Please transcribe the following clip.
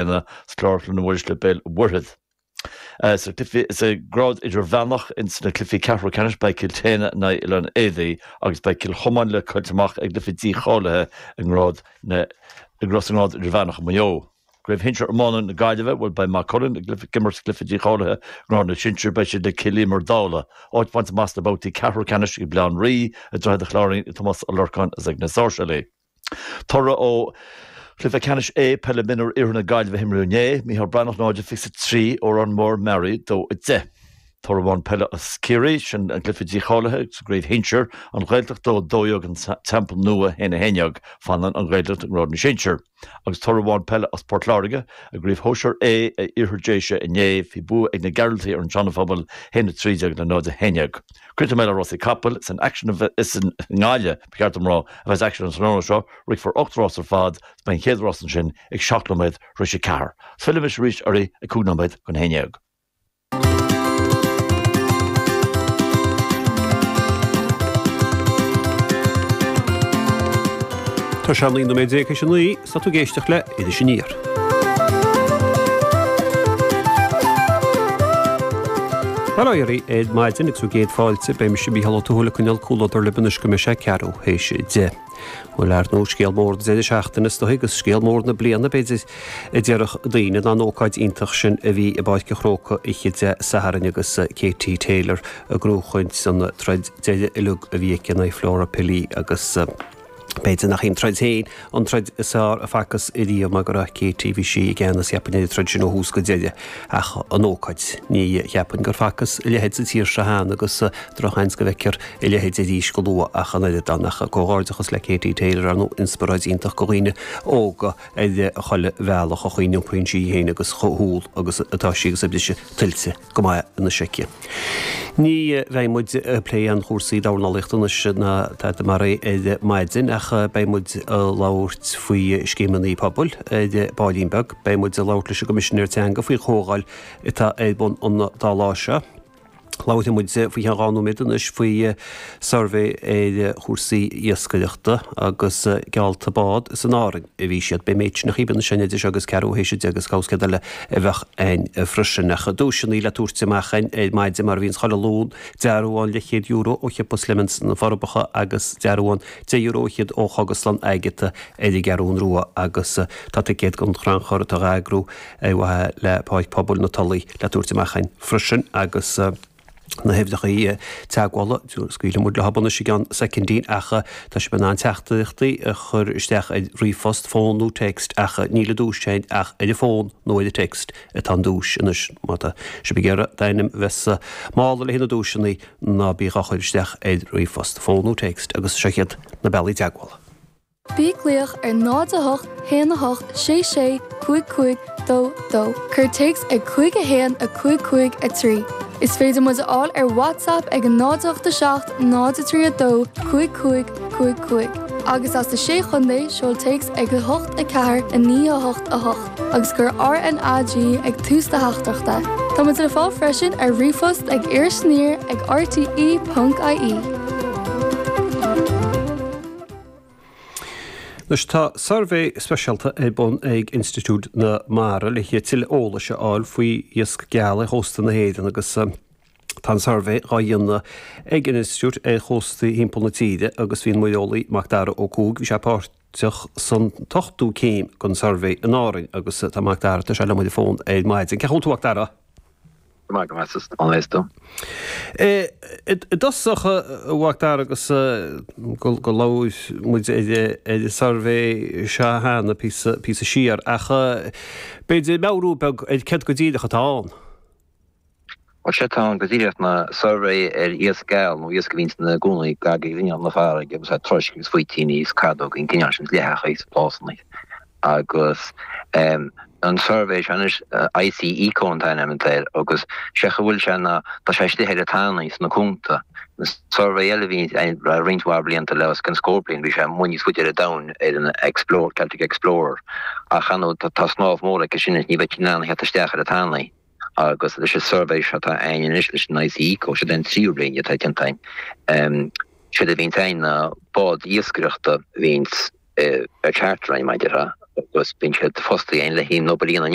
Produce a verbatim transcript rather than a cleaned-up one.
bliana sa Chlár Cluain Mhuiris le Béal Mhuirthead. Sa sa grád idirmheánach in sna cluichí ceathrú ceannais beidh Cill tSéadhna in aghaidh Oileán Éadaí agus beidh Cill Chomáin le Coillte Mach ag cluiche dícháilithe i ngrád na i ngrád idirmheánach Maigh Eo. Craobh Shinsir Iomána na Gaillimhe bhfuil beidh Maigh Cuilinn ag cluiche imirt cluiche dícháilithe grád na sinsear beidh siad le Cill Íomair Dála. Áit bainte amach sna babhtaí ceathrú ceannais ag Baile Átha an Rí i Droichead an Chláirín ag Tomás Ó Lorcáin is ag na Sáirséalaigh. Toradh ó Cluiche Ceannais A peile mionúr Iarthar na Gaillimhe a himríodh inné, Micheál Breathnach náid fiche a trí Órán Mór Mearaí dó a deich. Toradh amháin peile as Ciarraí sin an cluiche dícháilithe sa gcraobh shinsir, an Ghaeltacht dó dó dhéag an Teampall Nua haon a haon déag, fanann an Ghaeltacht i ngrád na sinsear. Agus toradh amháin peile as Port Láirge, i gcraobh shóisir A a Iarthar Déise inné bhí bua ag na Gearaltaigh ar an Seana-Phobal haon a trí déag le náid a haon déag. Críochnóidh mé le rásaí capall san aicsean is i nGaillimh ba cheart dom rá a bheas aicsean an tráthnóna seo, rithfear ocht rás ar fad, is beidh an chéad rás ansin ag seacht nóiméad tar éis a ceathair. Fillfidh arís oraibh ag cúig nóiméad chun a haon déag. Tá sé naoi nóiméad déag théis a naoi, is tá tú ag éisteacht le Iris Aniar. Bail ó Dhia oraibh ar maidin agus bhur gcéad fáilte, beidh mise Mícheál Ó Tuathail ag coinneáil comhluadar libh anois go mbeidh sé ceathrú théis a deich. Bhuel, ar ndóigh, scéal mór na deireadh seachtaine is dóigh agus scéal mór na bliana, b'fhéidir, a déarfadh daoine, ná an ócáid iontach sin a bhí i bPáirc an Chrócaigh oíche Dé Sathairn agus Katie Taylor ag gnóchaint an troid deiridh uilig a bhí aici in aghaidh Flora Pili agus B'fhéidir nach í an troid féin an troid is fearr a facthas ariamh mar go raibh Katie, bhí sí i gceannas cheapfainn ar an troid sin ó thús go deireadh ach an ócáid, ní cheapfainn gur facthas a leithéid sa tír seo cheana agus drochsheans go bhfeicfear a leithéid arís go luath ach an oiread ann ach comhghairdeachas le Katie Taylor ar ndóigh inspioráid iontach do dhaoine óga ar chuile bhealach an chaoi a n-iompraíonn sí í féin agus chomh humhal agus atá sí agus a briseadh tuillte go maith anois aici. Ní bheidh muid ag plé aon chúrsaí dornálaíochta anois ná tada mar é ar maidin ach beidh muid ag labhairt faoi scéimeanna pobail ar baillín beag. Beidh muid ag labhairt leis an gCoimisinéir Teanga faoi chomhdháil atá ar bun an dá lá seo. Labharfaidh muid faoi cheann dhá nóiméad anois faoi suirbhé ar chúrsaí iascaireachta agus geallta bád is in Árainn a bhí siad. Beidh an méid sin a chíbeann sin idir seo agus ceathrú théis a deich agus cá bhfios céard eile a bheadh ann freisin. Ach duaiseanna le tabhairt amach againn ar maidin mar a bhíonns chuile Luan, dearbhán leathchéad euro ó Shiopa Slemons na Forbacha agus dearbhán deich euro fhichead ó Chógaslann Agatha ar an gCeathrún Rua agus tá ticéad don chrannchur atá á eagrú ar mhaithe le Páirc Pobail na Tulaí le tabhairt amach againn freisin agus na huimhreacha teagmhála, scaoilfidh muid leo anois i gceann soicindín ach tá sibh in ann teachtaireachtaí a chur isteach ar ríomhphost, fón nó text ach níl an duais féin ach ar an bhfón nó ar an text atá an duais anois. Má tá sibh ag iarraidh d'ainm a bheith sa mála le haghaidh na duaiseanna ná bí dhá chur isteach ar ríomhphost, fón nó text agus seo iad na bealaí teagmhála. Bí ag glaoch ar náid a hocht haon a hocht sé sé cúig cúig dó dó. Cuir téacs ag cúig a haon a cúig cúig a trí. Is féidir muid a fháil ar WhatsApp ag a náid a hocht a seacht náid a trí a dó cúig cúig cúig cúig. Agus as na Sé Chontae, seol téacs ag a hocht a ceathair a naoi a hocht a hocht agus cuir RNAG ag tús do theachtaireachta. Tá muid le fáil freisin ar ríomhphost ag irisaniar ag rte ponc ie. Anois tá suirbhé speisialta ar bun ag Institiúid na Mara le tuilleadh eolais a fháil faoi iasc geal ar chósta na hÉireann agus tá an suirbhé dhá dhéanamh ag an institiúid ar chóstaí thimpeall na tíre agus bhí an muireolaí Macdara Ó Cuaig, bhí sé páirteach san t-ochtú céim den suirbhé in Árainn agus tá Macdara, tá sé liom ar an bhfón ar maidin. Cén chaoi a bhfuil tú Macdara? Go maith, go maith, is an is tú. I dtosach, a Mhacdara, agus go go labhair muid ar ar an suirbhé seo cheana píosa píosa siar, ach b'fhéidir meabhrú beag ar céard go díreach atá ann. Bhuel, sé atá ann go díreach ná suirbhé ar iasc geal nó iasc a bhíonn ina gcónaí gar do ghrinneall na farraige agus troisc agus faoitíní is cadóga, an cineál sin, leitheacha is plásanna. Agus an suirbhé seo anois, I C Eco an t-ainm atá air, agus sé a bhfuil sé ná tá sé istigh ar an tanaí sna cuanta. An suirbhé eile a bhí roinnt mhaith blianta le os cionn scór bliain, bhí sé amuigh níos faide ar an domhan ar an Explorer, Celtic Explorer, ach ar ndóigh tá snámh mór aici sin is ní bheadh sí in ann a theacht isteach ar an tanaí. Agus leis an suirbhé seo atá againn anois leis an I C Eco, seo é an tríú bliain atá déanta againn, séard a bhíonns againn ná bád iascaireachta a bhíonns ar charter againn mar a déarfá, Agus bíonn siad fostaithe le haghaidh an obair a dhéanamh.